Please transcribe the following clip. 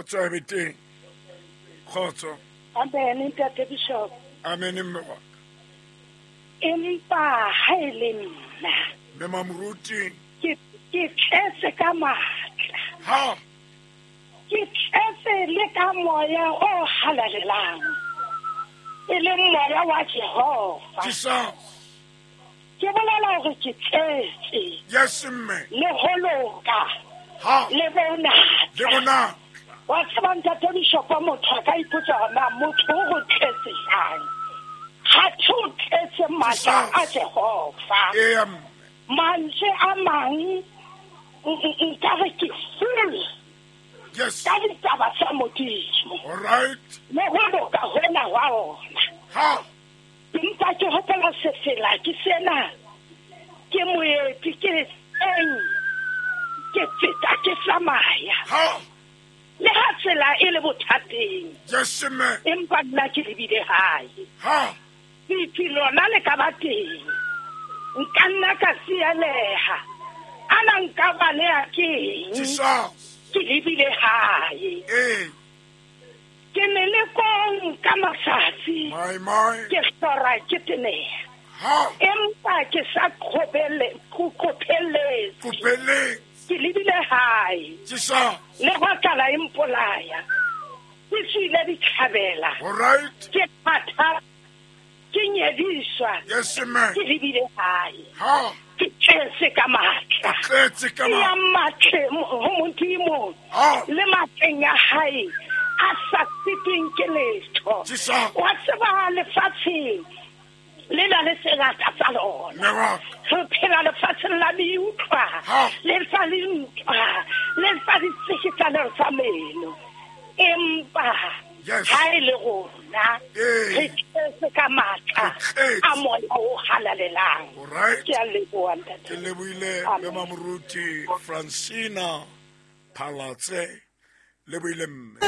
Kgotso e be teng. Kgotso. Amen, ntate Bishop. Amen, mme wa ka. Empa ha e le nna. Mme Mamoruti. Ke tletse ka matla. Ha. Ke tletse le ka moya o halalelang. E leng moya wa Jehova. Jesus. Ke bolela hore ke tletse. Yes, mme. Le ho loka. Ha. Le bonatla. Le bonatla. Wa tseba ntate Bishop, motho a ka ipotsa hore na motho o go tletse jang. Ha tho o tletse matla a Jehova. Eya, mme. Mantswe a mang nka re ke full. Yes. Ka ditaba tsa Modimo. All right. Le ho loka hona hwa ona. Ha. Empa ke hopola sefela ke sena. Ke moeti ke eng. Ke feta ke tsamaya. Ha. Le ha tsela e le bothateng. Yes, mme. Empa nna ke lebile hae. Ha. Lefi lona le ka ba teng. Nka nna ka sialeha. Ana nka baleha keng? Jesus. Ke lebile hae. Ee. Ke melekong ka matsatsi. My, my. Ke hlora ke teneha. Ha. Empa ke sa qopheletse. Qopheletse. Ke lebile hae. Jesus. Le ho tlala e mpolaya. Ke tswile dithabela. All right. Ke phatha. Ke nyediswa. Yes, mme. Ke lebile hae. Ha. Ke tletse ka matla. Ke tletse ka Ke ya matleng ho Modimo. Ha. Le matleng a hae a sa sitweng ke letho. Jesus. Wa tseba lefatsheng le na le sengata sa lona. Mme wa ka. Re phela lefatsheng la meutlwa, Ha. le sa le ntwa, le sa ditsikitlano tsa meno. Empa Yes. ha e le rona, Ee. re tletse ka matla Re tletse. a moya o halalelang. All right. Ke a leboha, ntate. Ke lebohile Amen. Mme Mamoruti Francina Phalatse. Lebohile mme.